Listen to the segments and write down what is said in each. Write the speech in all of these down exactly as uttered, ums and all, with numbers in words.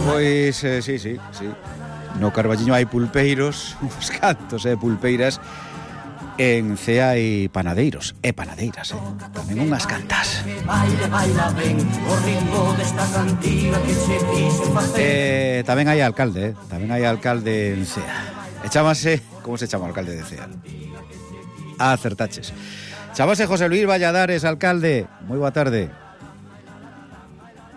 Pois, eh, sí, sí, sí. No Carballiño hai pulpeiros, uns cantos e eh, pulpeiras. En Cea hai panadeiros e panadeiras, eh? Tamén unhas cantas. Eh, tamén hai alcalde, eh? Tamén hai alcalde en Cea. E chámase, como se chama o alcalde de Cea? Ah, acertaches. Chámase José Luis Valladares, alcalde. Moi boa tarde.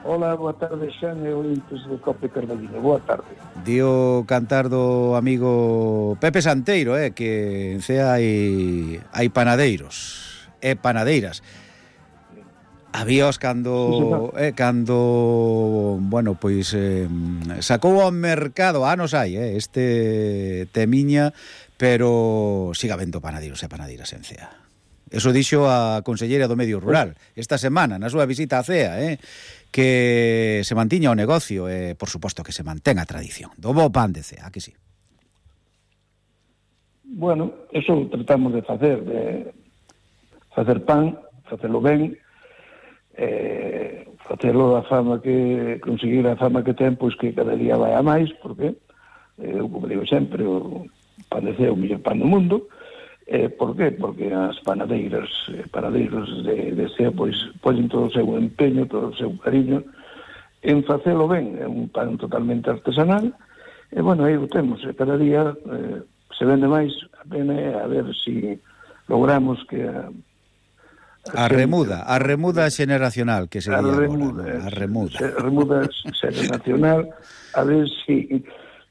Hola, boa tarde, Xan e ointes de Cope Carballiño. Boa tarde. Dio cantar do amigo Pepe Santeiro, eh, que en Cea hai, hai panadeiros e panadeiras. Habíos cando, eh, cando, bueno, pois eh, sacou ao mercado, anos hai, eh, este temiña, pero siga vendo panadeiros e panadeiras en Cea. Eso dixo a conselleira do Medio Rural esta semana, na súa visita a Cea, eh, que se mantiña o negocio e, eh, por suposto, que se mantén a tradición do bo pan de Cea, que sí? Bueno, eso tratamos de facer, de facer pan, facelo ben, eh, facelo a fama que, conseguir a fama que ten, pois que cada día vai a máis, porque, eh, eu como digo sempre, o pan de Cea é o mellor pan do mundo. Eh, por qué? Porque as panadeiras, eh, panadeiros de, de Cea, pois, poñen todo o seu empeño, todo o seu cariño en facelo ben. É un pan totalmente artesanal, e, bueno, aí o temos. E cada día eh, se vende máis, a pena é a ver se si logramos que a, a, a remuda, a remuda xeneracional que se a di remuda, agora, a remuda. A remuda xeneracional, a ver se si,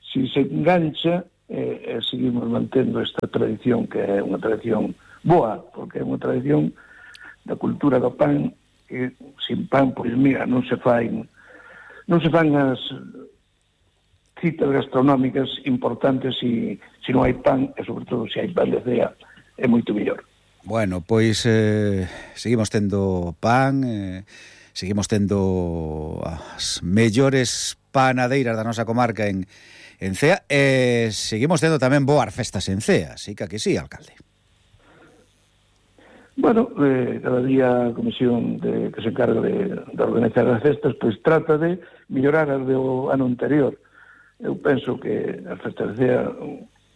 si se engancha e, e seguimos mantendo esta tradición, que é unha tradición boa, porque é unha tradición da cultura do pan, que sin pan, pois mira, non se fai non se fan as citas gastronómicas importantes se si, si non hai pan, e sobre todo se hai pan de Cea, é moito mellor. Bueno, pois eh, seguimos tendo pan, eh, seguimos tendo as mellores panadeiras da nosa comarca en en Cea, e eh, seguimos tendo tamén boas festas en Cea, sí que aquí sí, alcalde. Bueno, eh, cada día a comisión de, que se encarga de, de organizar as festas, pois trata de mellorar as do ano anterior. Eu penso que as festas de Cea,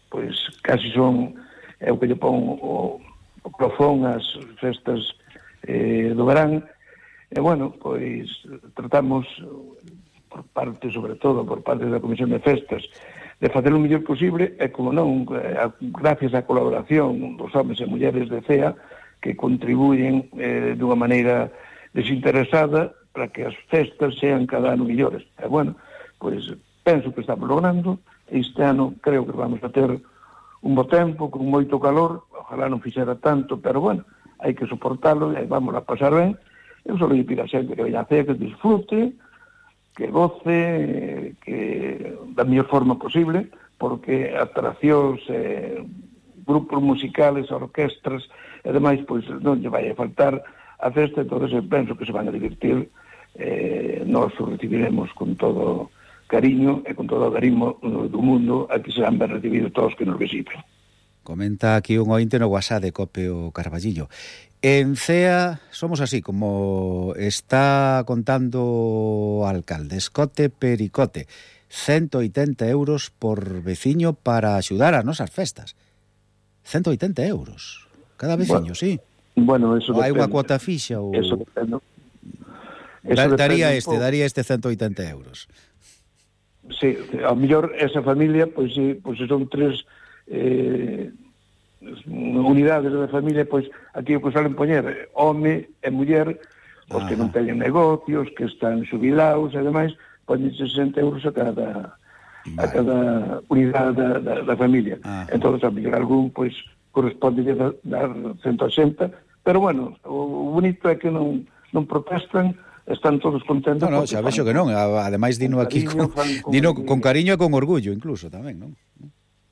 pois casi son, é o que lle pon o, o profón as festas eh, do verán, e bueno, pois tratamos por parte, sobre todo, por parte da Comisión de Festas, de facer o mellor posible, e como non, gracias á colaboración dos homens e mulleres de Cea, que contribuyen eh, dunha maneira desinteresada para que as festas sean cada ano mellores. E bueno, pois penso que estamos logrando, este ano creo que vamos a ter un bo tempo, con moito calor, ojalá non fixera tanto, pero bueno, hai que soportalo e vamos a pasar ben. Eu só lle pido a xente que veña a Cea, que disfrute, que goce, que da mellor forma posible, porque atraccións, eh, grupos musicales, orquestras, e demais, pois non lle vai a faltar a festa, entonces eu penso que se van a divertir, eh, nós o recibiremos con todo cariño e con todo o cariño do mundo, aquí serán ben recibidos todos que nos visiten. Comenta aquí un ointe no WhatsApp de Cope o Carballiño. En Cea somos así, como está contando o alcalde, escote pericote, ciento oitenta euros por veciño para axudar as nosas festas. ciento oitenta euros cada veciño, bueno, sí. Bueno, eso ou hai unha depende. cuota fixa ou... Eso depende. Eso da, daría este, pouco. daría este ciento oitenta euros. Sí, ao mellor esa familia, pois, pois son tres eh, unidades da familia, pois aquí o que salen poñer home e muller, os que non teñen negocios, que están xubilados e demais, poñen sesenta euros a cada vale. a cada unidade da, da, da familia. Ajá. Entón, a mellor algún, pois, corresponde a dar ciento oitenta, pero bueno, o bonito é que non, non protestan, están todos contentos. No, no, xa vexo que non, ademais dino aquí con, con, dino con cariño e con orgullo incluso tamén, non?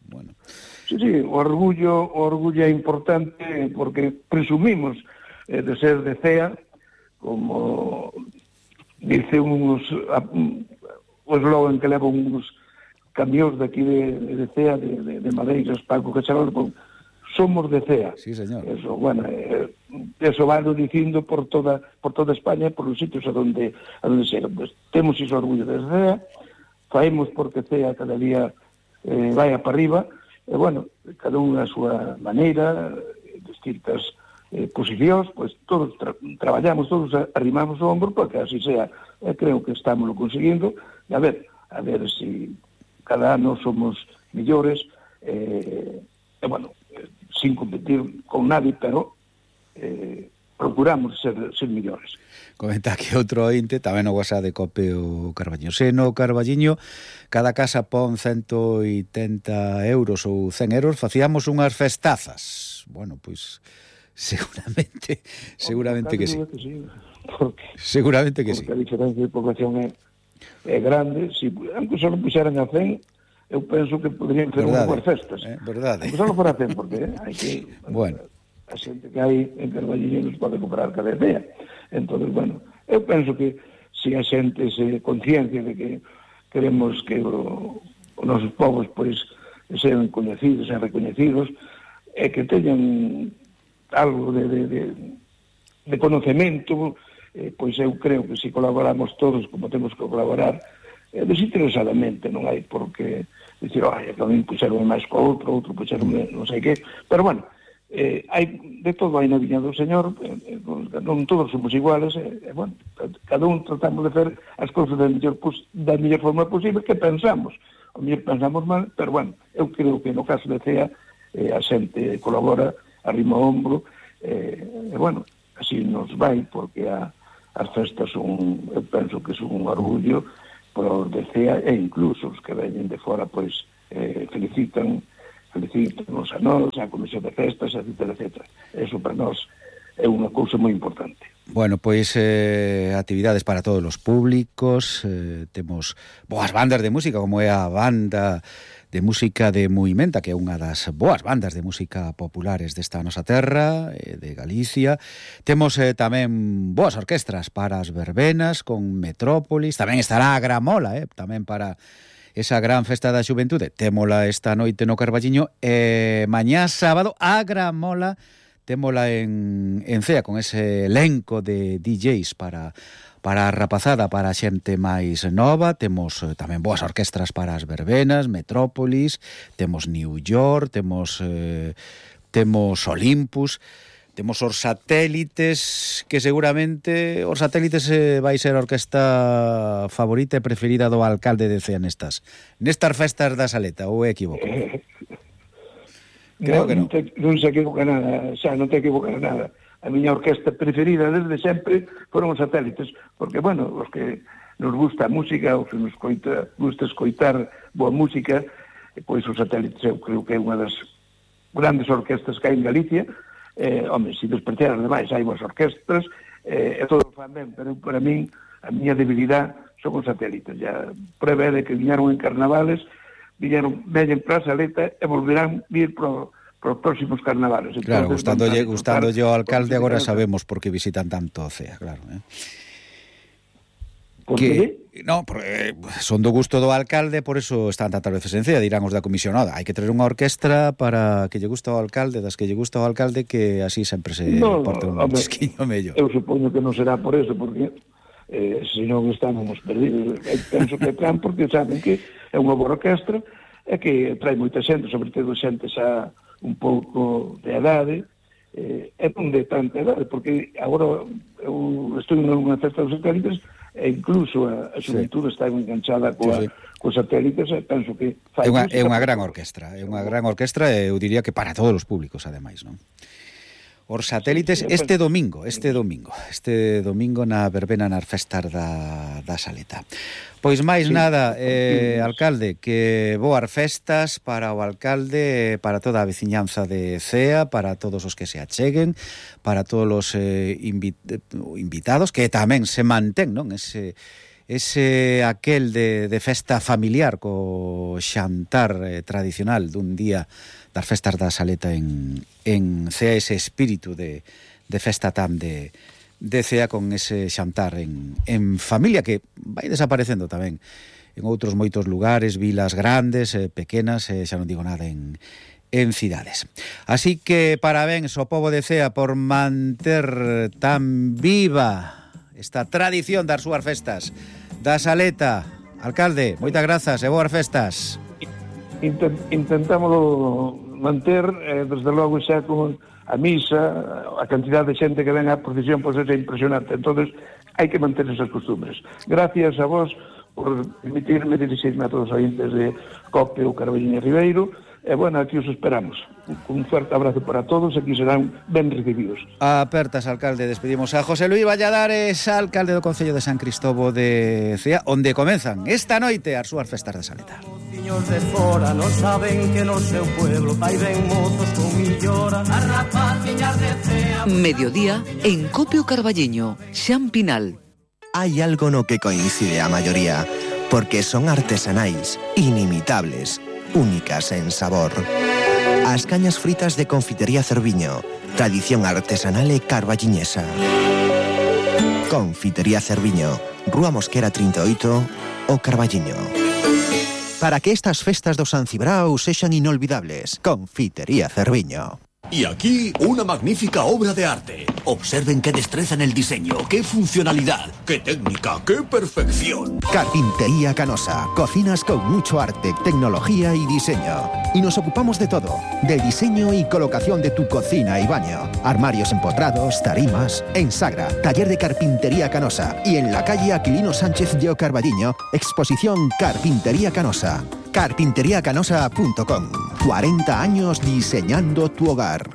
Bueno. Sí, sí, o orgullo, o orgullo é importante porque presumimos eh, de ser de Cea, como dice uns o eslogan que levan uns camións de aquí de, de Cea, de, de, de Madeiras, Paco Cacharol, con somos de Cea. Sí, señor. Eso, bueno, eh, eso vai dicindo por toda por toda España, por os sitios a donde a donde sea. Pues, temos ese orgullo de Cea, faemos porque Cea cada día eh, vai para arriba, e bueno, cada un a súa maneira, distintas eh, posicións, pois pues, todos tra traballamos, todos arrimamos o ombro porque así sea. E creo que estamos lo conseguindo, e a ver, a ver se si cada ano somos millores, eh, e bueno, eh, sin competir con nadie, pero eh, procuramos ser, ser millores. Comenta que outro ointe, tamén o WhatsApp de Cope o Carballiño. Se no Carballiño cada casa pon ciento oitenta euros ou cen euros, facíamos unhas festazas. Bueno, pois seguramente, seguramente que sí. Que sí porque, seguramente que porque sí. Porque a diferencia de población é, é grande, si, aunque só puxeran a cen, eu penso que poderían ter unhas boas festas. Eh, verdade. Aunque só non fora cen, porque eh, hai que... Bueno. A xente que hai en Carballiño nos pode comprar cada día. Entón, bueno, eu penso que se a xente se conciencia de que queremos que o, os nosos povos pois sean coñecidos, sean recoñecidos, e que teñan algo de, de, de, de conocemento, eh, pois eu creo que se colaboramos todos como temos que colaborar, eh, desinteresadamente, non hai por que dicir, ai, que a mí puxeron máis co outro, outro puxeron non sei que, pero bueno, eh, hai, de todo hai na viña do Señor, eh, non todos somos iguales, e eh, eh, bueno, cada un tratamos de fer as cousas da mellor, da mellor forma posible que pensamos, o mellor pensamos mal, pero bueno, eu creo que no caso de Cea, eh, a xente colabora, arrima o ombro, eh, e bueno, así nos vai, porque a, as festas son, eu penso que son un orgullo para os de Cea, e incluso os que veñen de fora, pois, eh, felicitan felicitarnos a nós, a Comisión de Festas, etcétera, etcétera. Eso para nós é unha cousa moi importante. Bueno, pois eh, actividades para todos os públicos, eh, temos boas bandas de música, como é a banda de música de Muimenta, que é unha das boas bandas de música populares desta nosa terra, eh, de Galicia. Temos eh, tamén boas orquestras para as verbenas, con Metrópolis, tamén estará a Gramola, eh, tamén para esa gran festa da xuventude. Témola esta noite no Carballiño, e mañá sábado a Gramola témola en, en Cea, con ese elenco de D Js para, para a rapazada, para a xente máis nova. Temos eh, tamén boas orquestras para as verbenas, Metrópolis, temos New York, temos eh, temos Olympus, temos os satélites, que seguramente os satélites eh, vai ser a orquesta favorita e preferida do alcalde de Cea nestas nestas festas da Saleta, ou é equivoco? Creo no, que non. Non, te, non se equivoca nada, xa non te equivoca nada. A miña orquesta preferida desde sempre foron os satélites, porque, bueno, os que nos gusta a música, os que nos coita, gusta escoitar boa música, pois os satélites eu creo que é unha das grandes orquestas que hai en Galicia. Eh, home, se despreciar ademais hai boas orquestras, eh, e todo o fan ben, pero para min a miña debilidade son os satélites. Ya prueba de que viñeron en carnavales, viñeron, veñen para a Saleta e volverán vir para os próximos carnavales. Entonces, claro, gustándolle, gustándolle ao alcalde, agora música, sabemos por que visitan tanto Cea, claro, eh? Por que, no, porque son do gusto do alcalde, por eso están tantas veces en Cea, dirán os da comisionada. Hai que traer unha orquestra para que lle gusta ao alcalde, das que lle gusta ao alcalde, que así sempre se no, porta un hombre, chisquiño mellor. Eu supoño que non será por eso, porque eh, se non estábamos perdidos. Eu penso que traen porque saben que é unha boa orquestra e que trae moita xente, sobre todo xente xa un pouco de edade, eh, e non de tanta edade, porque agora eu estou nunha festa dos satélites e incluso a, a xuventude sí. está enganchada coa, sí, sí. cos satélites, e penso que fai é unha, é unha gran orquestra, é unha gran orquestra, e eu diría que para todos os públicos, ademais, non? Os satélites sí, sí, este domingo, este domingo, este domingo na verbena nas festas da, da Saleta. Pois máis sí, nada, eh, alcalde, que boas festas para o alcalde, para toda a veciñanza de Cea, para todos os que se acheguen, para todos os eh, invit invitados, que tamén se mantén, non? Ese, ese aquel de, de festa familiar co xantar eh, tradicional dun día das festas da Saleta en, en Cea, ese espírito de, de festa tan de, de Cea, con ese xantar en, en familia, que vai desaparecendo tamén en outros moitos lugares, vilas grandes, eh, pequenas, eh, xa non digo nada en, en cidades. Así que parabéns ao pobo de Cea por manter tan viva esta tradición das súas festas da Saleta. Alcalde, moitas grazas e boas festas. Intent, intentámoslo manter, eh, desde logo xa con a misa, a cantidad de xente que ven á procesión, pois é impresionante. Entonces hai que manter esas costumbres. Gracias a vos por permitirme dirixirme a todos os ointes de Cope ou Carballiño Ribeiro. E, bueno, aquí os esperamos. Un fuerte abrazo para todos, aquí serán ben recibidos. Apertas, alcalde. Despedimos a José Luis Valladares, alcalde do Concello de San Cristóbal de Cea, onde comenzan esta noite as súas festas de Saleta. Os de fora non saben que no seu pueblo vai ben mozos con millora. As rapaciñas de Cea. Mediodía en Copio Carballiño, Xan Pinal. Hai algo no que coincide a maioría, porque son artesanais, inimitables, únicas en sabor. As cañas fritas de Confitería Cerviño, tradición artesanal e carballiñesa. Confitería Cerviño, Rúa Mosquera treinta e oito, o Carballiño. Para que estas festas do San Cibrao sexan inolvidables, Confitería Cerviño. Y aquí, una magnífica obra de arte. Observen qué destreza en el diseño, qué funcionalidad, qué técnica, qué perfección. Carpintería Canosa. Cocinas con mucho arte, tecnología y diseño. Y nos ocupamos de todo. Del diseño y colocación de tu cocina y baño. Armarios empotrados, tarimas. En Sagra, taller de Carpintería Canosa. Y en la calle Aquilino Sánchez de Carballiño, exposición Carpintería Canosa. carpintería canosa punto com. cuarenta años diseñando tu hogar.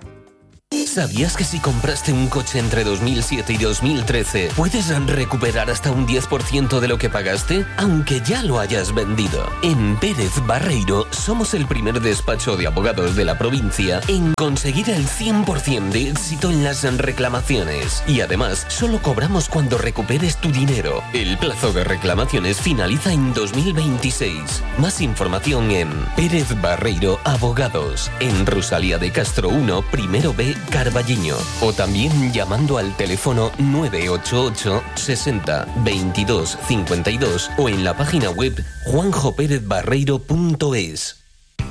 ¿Sabías que si compraste un coche entre dos mil siete y dos mil trece puedes recuperar hasta un diez por ciento de lo que pagaste, aunque ya lo hayas vendido? En Pérez Barreiro somos el primer despacho de abogados de la provincia en conseguir el cien por ciento de éxito en las reclamaciones. Y además, solo cobramos cuando recuperes tu dinero. El plazo de reclamaciones finaliza en dos mil veintiséis. Más información en Pérez Barreiro Abogados, en Rosalía de Castro uno, primero B, Carballiño, o también llamando al teléfono nueve ocho ocho sesenta veintidós cincuenta y dos o en la página web juanjo pérez barreiro punto es.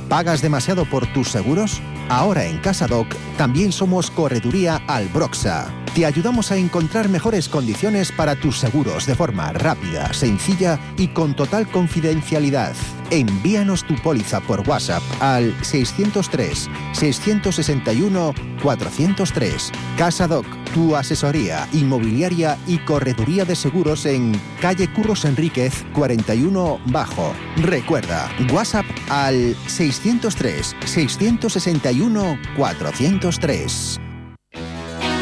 ¿Pagas demasiado por tus seguros? Ahora en Casadoc también somos Correduría Albroxa. Te ayudamos a encontrar mejores condiciones para tus seguros de forma rápida, sencilla y con total confidencialidad. Envíanos tu póliza por WhatsApp al seiscientos tres, seiscientos sesenta y uno, cuatrocientos tres. Casadoc, tu asesoría inmobiliaria y correduría de seguros en calle Curros Enríquez cuarenta y uno Bajo. Recuerda, WhatsApp al seiscientos tres, seiscientos sesenta y uno, cuatrocientos tres.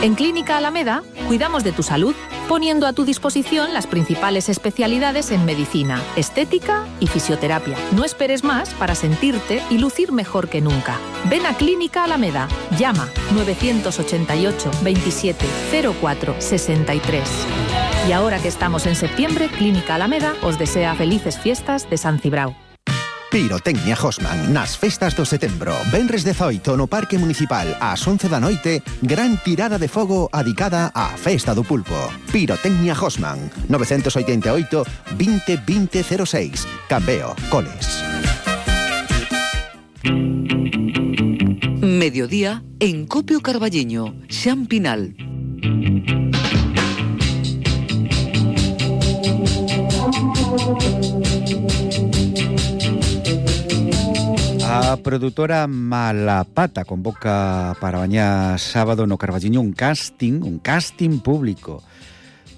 En Clínica Alameda, cuidamos de tu salud, poniendo a tu disposición las principales especialidades en medicina, estética y fisioterapia. No esperes más para sentirte y lucir mejor que nunca. Ven a Clínica Alameda, llama nueve ocho ocho, veintisiete, cero cuatro, sesenta y tres. Y ahora que estamos en septiembre, Clínica Alameda os desea felices fiestas de San Cibrao. Pirotecnia Hosman nas festas do setembro. Venres dezoito no Parque Municipal ás once da noite, gran tirada de fogo adicada á Festa do Pulpo. Pirotecnia Hosman, nove oito oito, veinte, veinte, cero seis. Cambeo, Coles. Mediodía en Copio Carballiño, Xan Pinal. A produtora Malapata convoca para mañá sábado no Carballiño un casting, un casting público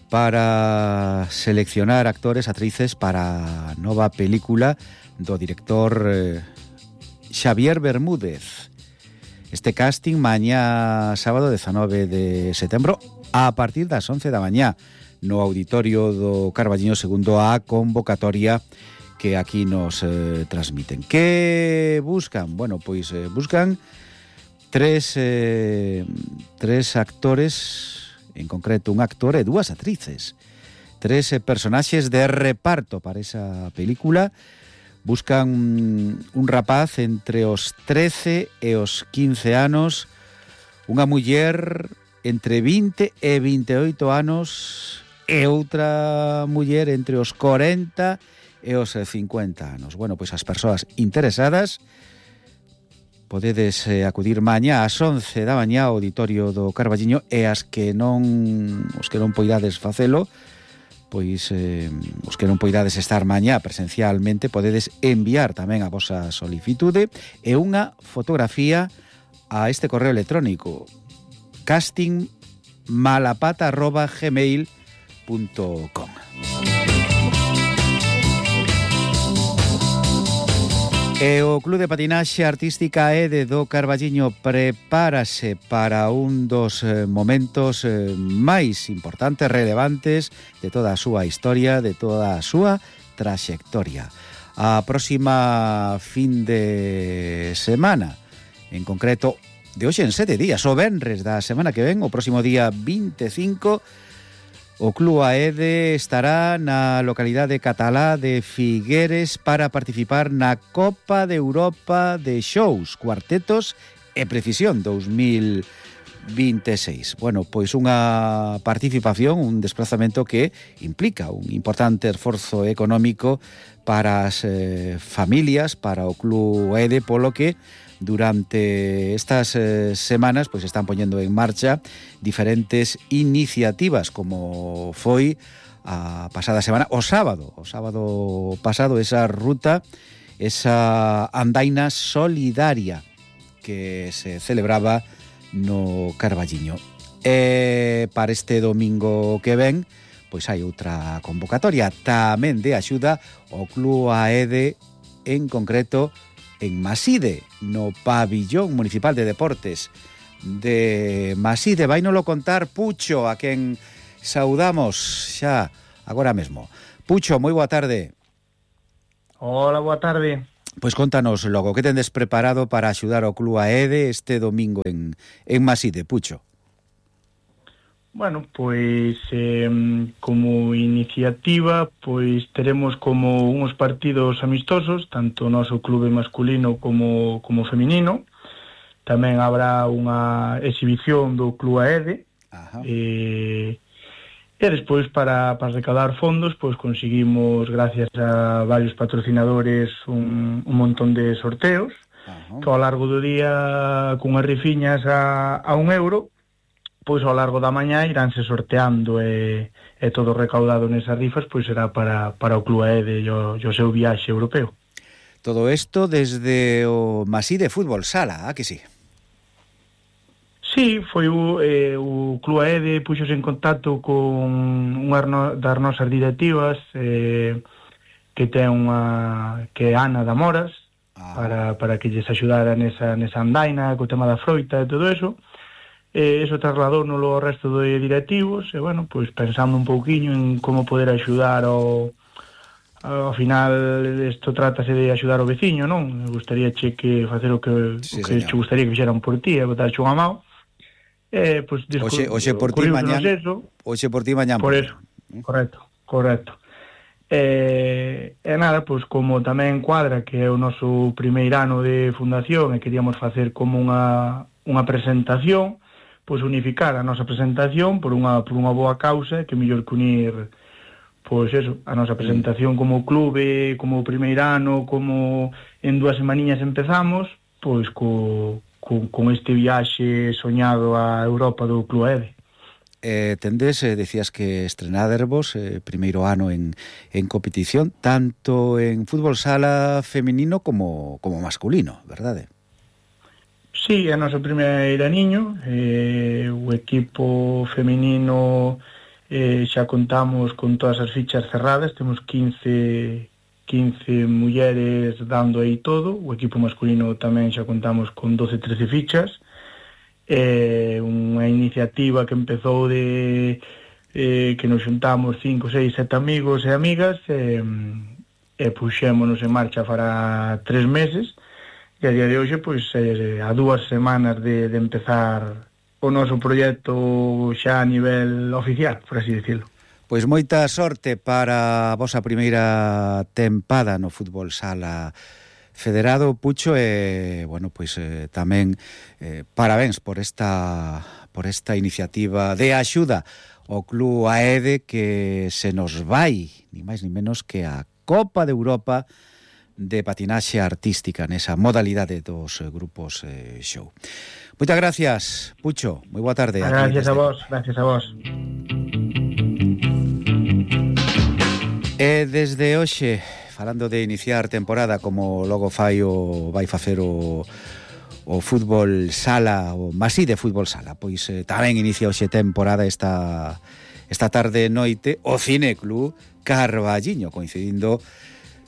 para seleccionar actores, actrices para a nova película do director eh, Xavier Bermúdez. Este casting mañá sábado dezanove de setembro a partir das once da mañá no auditorio do Carballiño segundo a convocatoria que aquí nos eh, transmiten. Que buscan? Bueno, pois eh, buscan tres eh, tres actores, en concreto un actor e dúas actrices. Tres eh, personaxes de reparto para esa película. Buscan un rapaz entre os trece e os quince anos, unha muller entre vinte e vinteoito anos e outra muller entre os corenta e os cincuenta anos. Bueno, pois as persoas interesadas podedes eh, acudir mañá ás once da mañá ao auditorio do Carballiño, e as que non os que non poidades facelo, pois eh, os que non poidades estar mañá presencialmente, podedes enviar tamén a vosa solicitude e unha fotografía a este correo electrónico casting malapata arroba gmail punto com. E o Club de Patinaxe Artística E D do Carballiño prepárase para un dos momentos máis importantes, relevantes de toda a súa historia, de toda a súa traxectoria. A próxima fin de semana, en concreto de hoxe en sete días, o venres da semana que ven, o próximo día vinte e cinco, o Club A E D estará na localidade catalá de Figueres para participar na Copa de Europa de Shows, Cuartetos e Precisión dous mil vinte e seis. Bueno, pois unha participación, un desplazamento que implica un importante esforzo económico para as eh, familias, para o Club A E D, polo que durante estas eh, semanas pois están poñendo en marcha diferentes iniciativas, como foi a pasada semana, o sábado, o sábado pasado, esa ruta, esa andaina solidaria que se celebraba no Carballiño. E para este domingo que ven, pois hai outra convocatoria tamén de axuda ao Club A E D, en concreto en Maside, no pabillón municipal de deportes de Maside. Vai nolo contar Pucho, a quen saudamos xa agora mesmo. Pucho, moi boa tarde. Hola, boa tarde. Pois contanos logo, que tendes preparado para axudar ao Club A E D este domingo en, en Maside, Pucho? Bueno, pois eh, como iniciativa, pois teremos como uns partidos amistosos, tanto o noso clube masculino como, como feminino. Tamén habrá unha exhibición do Club A E D. Ajá. E, e despois para, para recaudar fondos, pois conseguimos, gracias a varios patrocinadores, un, un montón de sorteos. Ajá. Que ao largo do día, cunhas rifiñas a, a un euro, pois ao largo da mañá iránse sorteando, e, e todo recaudado nesas rifas pois será para, para o Club A E D e o, o seu viaxe europeo. Todo isto desde o Maside Fútbol Sala, ah, que sí? Sí, foi o, eh, o Club A E D puxose en contacto con unha das nosas directivas, eh, que ten unha, que é Ana da Moras, ah. para, para que lles axudara nesa, nesa andaina, co tema da froita e todo eso. E iso trasladóuno ao resto de directivos, e, bueno, pois pensando un pouquiño en como poder axudar ao... Ao final, isto trátase de axudar o veciño, non? Me gustaría che que facer o que, sí, o que che gustaría que fixeran por ti, e botar unha mão. E, pois, oxe, oxe por ti mañán, oxe por ti mañán. Por eso, correcto, correcto. E, e nada, pois como tamén cuadra que é o noso primeiro ano de fundación e queríamos facer como unha, unha presentación, pois unificar a nosa presentación por unha, por unha boa causa, que mellor que unir, pois eso, a nosa presentación como clube, como primeiro ano, como en dúas semaniñas empezamos, pois co, co, con este viaxe soñado a Europa do Club A E D. Eh, tendes, eh, decías que estrenadervos eh, primeiro ano en, en competición, tanto en fútbol sala feminino como, como masculino, verdade? Sí, é o noso primeiro aniño, eh, o equipo feminino eh, xa contamos con todas as fichas cerradas, temos quince, quince mulleres dando aí todo, o equipo masculino tamén xa contamos con doce, trece fichas, eh, unha iniciativa que empezou de eh, que nos xuntamos cinco, seis, sete amigos e amigas, e, e puxémonos en marcha para tres meses. E a día de hoxe, pois, eh, a dúas semanas de, de empezar o noso proxecto xa a nivel oficial, por así decirlo. Pois moita sorte para a vosa primeira tempada no fútbol sala federado, Pucho, e, bueno, pois eh, tamén eh, parabéns por esta, por esta iniciativa de axuda ao Club A E D, que se nos vai, ni máis ni menos que a Copa de Europa de patinaxe artística nesa modalidade dos grupos eh, show. Moitas gracias, Pucho. Moi boa tarde. Gracias a vos, gracias a vos. E desde hoxe, falando de iniciar temporada, como logo fai o vai facer o o fútbol sala, o Masí de fútbol sala, pois eh, tamén inicia hoxe temporada esta esta tarde noite o Cine Club Carballiño, coincidindo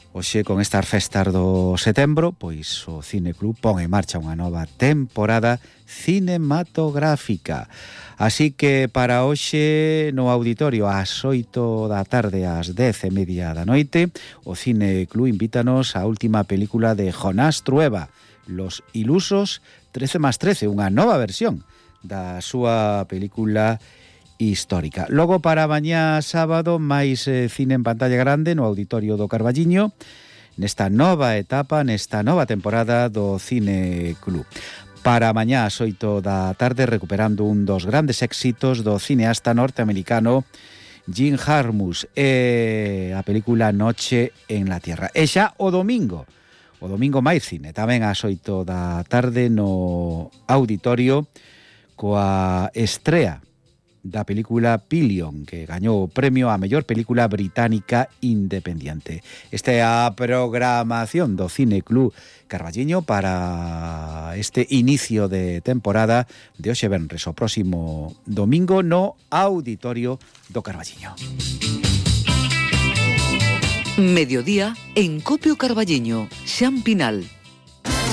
hoxe con estas festas do setembro, pois o Cine Club pon en marcha unha nova temporada cinematográfica. Así que para hoxe no auditorio ás oito da tarde ás dez e media da noite, o Cine Club invítanos á última película de Jonás Trueba, Los Ilusos trece más trece, unha nova versión da súa película histórica. Logo para mañá sábado, máis eh, cine en pantalla grande no auditorio do Carballiño, nesta nova etapa, nesta nova temporada do Cine Club. Para mañá ás oito da tarde, recuperando un dos grandes éxitos do cineasta norteamericano Jim Jarmusch, e a película Noche en la Tierra. E xa o domingo, o domingo máis cine, tamén ás oito da tarde no auditorio, coa estrea da película Pillion, que gañou o premio a mellor película británica independiente. Esta é a programación do Cine Club Carballiño para este inicio de temporada de hoxe venres, o próximo domingo no auditorio do Carballiño. Mediodía en Copio Carballiño, Xampinal.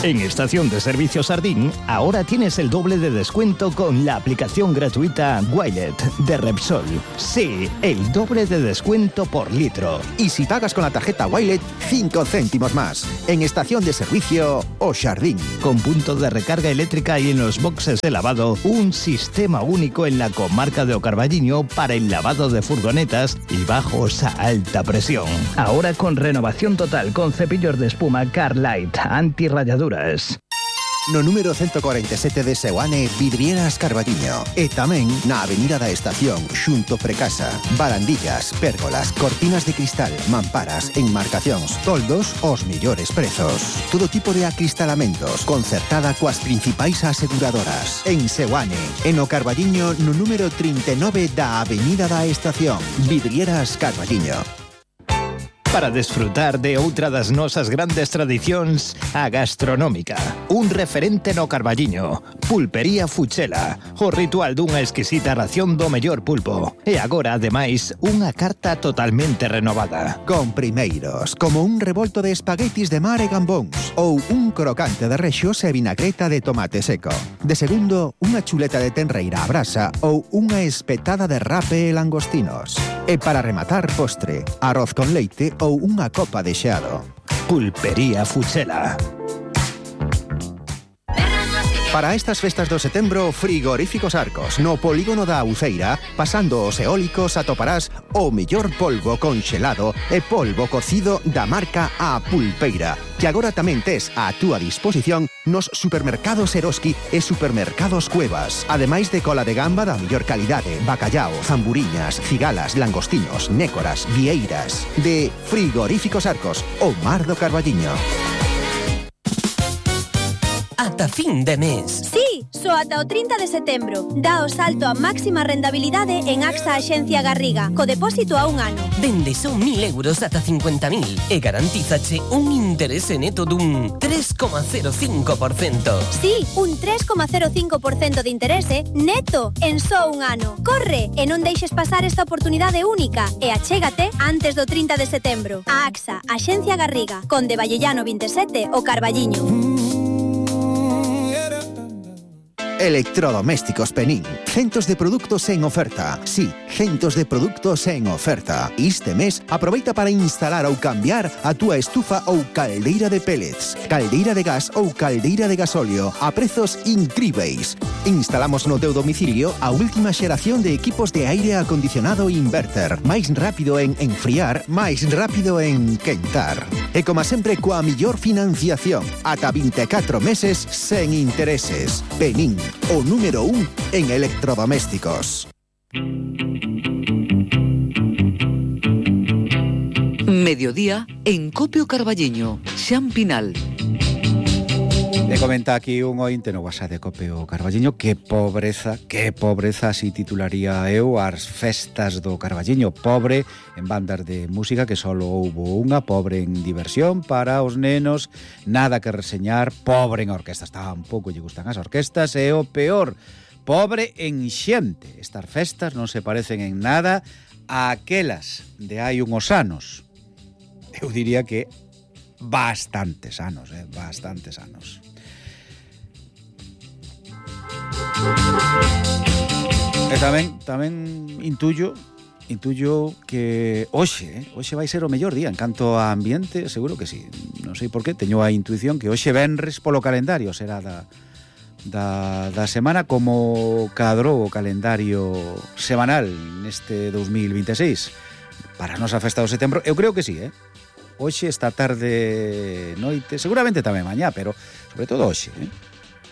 En Estación de Servicio Sardín, ahora tienes el doble de descuento con la aplicación gratuita Wilet de Repsol. Sí, el doble de descuento por litro. Y si pagas con la tarjeta Wilet, cinco céntimos más. En Estación de Servicio O Sardín. Con punto de recarga eléctrica y en los boxes de lavado, un sistema único en la comarca de O Carballiño para el lavado de furgonetas y bajos a alta presión. Ahora con renovación total con cepillos de espuma Carlight antirrayaduras. No número ciento cuarenta y siete de Seoane, Vidrieras Carballiño. E tamén na Avenida da Estación, xunto Precasa. Barandillas, pérgolas, cortinas de cristal, mamparas, enmarcacións, toldos, os mellores prezos. Todo tipo de acristalamentos, concertada coas principais aseguradoras. En Seoane, en o Carballiño, no número trinta e nove da Avenida da Estación. Vidrieras Carballiño. Para desfrutar de outra das nosas grandes tradicións, a gastronómica. Un referente no Carballiño, Pulpería Fuchela, o ritual dunha exquisita ración do mellor pulpo. E agora, ademais, unha carta totalmente renovada. Con primeiros, como un revolto de espaguetis de mar e gambóns, ou un crocante de rexos e vinagreta de tomate seco. De segundo, unha chuleta de tenreira a brasa ou unha espetada de rape e langostinos. E para rematar, postre, arroz con leite ou unha copa de xeado. Pulpería Fuchela. Para estas festas do setembro, Frigoríficos Arcos. No polígono da Uceira, pasando os eólicos, atoparás o mellor polvo conxelado e polvo cocido da marca A Pulpeira, que agora tamén tes á túa disposición nos supermercados Eroski e supermercados Cuevas. Ademais de cola de gamba da mellor calidade, bacallao, zamburiñas, cigalas, langostinos, nécoras, vieiras. De Frigoríficos Arcos, o mar do Carballiño. Ata fin de mes. Sí, só ata o trinta de setembro. Dá o salto a máxima rendabilidade en AXA Axencia Garriga, co depósito a un ano. Dende son mil euros ata cincuenta mil e garantízache un interese neto dun tres coma cero cinco por cento. Sí, un tres coma cero cinco por cento de interese neto en só un ano. Corre e non deixes pasar esta oportunidade única e achégate antes do trinta de setembro. A AXA Axencia Garriga, Conde Vallellano vinte e sete, o Carballiño. Electrodomésticos Penín. Centos de productos en oferta. Sí, centos de productos en oferta. Este mes, aproveita para instalar ou cambiar a túa estufa ou caldeira de pellets, caldeira de gas ou caldeira de gasóleo a prezos incríveis. Instalamos no teu domicilio a última xeración de equipos de aire acondicionado inverter. Máis rápido en enfriar, máis rápido en quentar. E como sempre, coa millor financiación. Ata vinte e catro meses sen intereses. Penín, o número un en electrodomésticos. Mediodía en Copio Carballiño, Xampinal. Le comenta aquí un ointe no WhatsApp de Copio Carballiño que pobreza, que pobreza si titularía eu as festas do Carballiño. Pobre en bandas de música, que solo houbo unha, pobre en diversión para os nenos, nada que reseñar, pobre en orquestas, tampouco lle gustan as orquestas, e o peor, pobre en xente. Estas festas non se parecen en nada a aquelas de hai unhos anos. Eu diría que bastantes anos, eh, bastantes anos. E tamén tamén intuyo intuyo que hoxe, eh, hoxe vai ser o mellor día en canto a ambiente, seguro que sí. Non sei por qué, teño a intuición que hoxe venres polo calendario será da da da semana como cadrou o calendario semanal neste dos mil vinte e seis para a nosa festa do setembro. Eu creo que sí, eh. Hoxe, esta tarde, noite, seguramente tamén mañá, pero sobre todo hoxe, eh.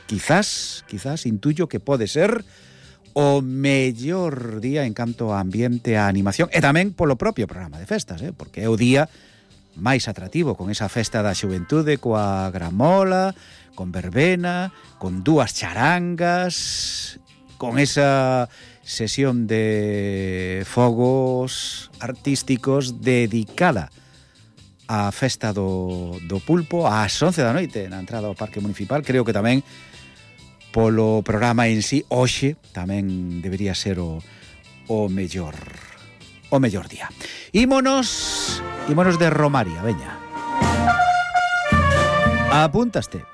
Quizás, quizás intuyo que pode ser o mellor día en canto a ambiente, a animación e tamén polo propio programa de festas, eh? Porque é o día máis atractivo con esa festa da xuventude, coa gramola, con verbena, con dúas charangas, con esa sesión de fogos artísticos dedicada á festa do, do pulpo ás once da noite na entrada ao Parque Municipal. Creo que tamén polo programa en sí, hoxe tamén debería ser o, o mellor o mellor día. Ímonos, ímonos de Romaria, veña. Apúntaste.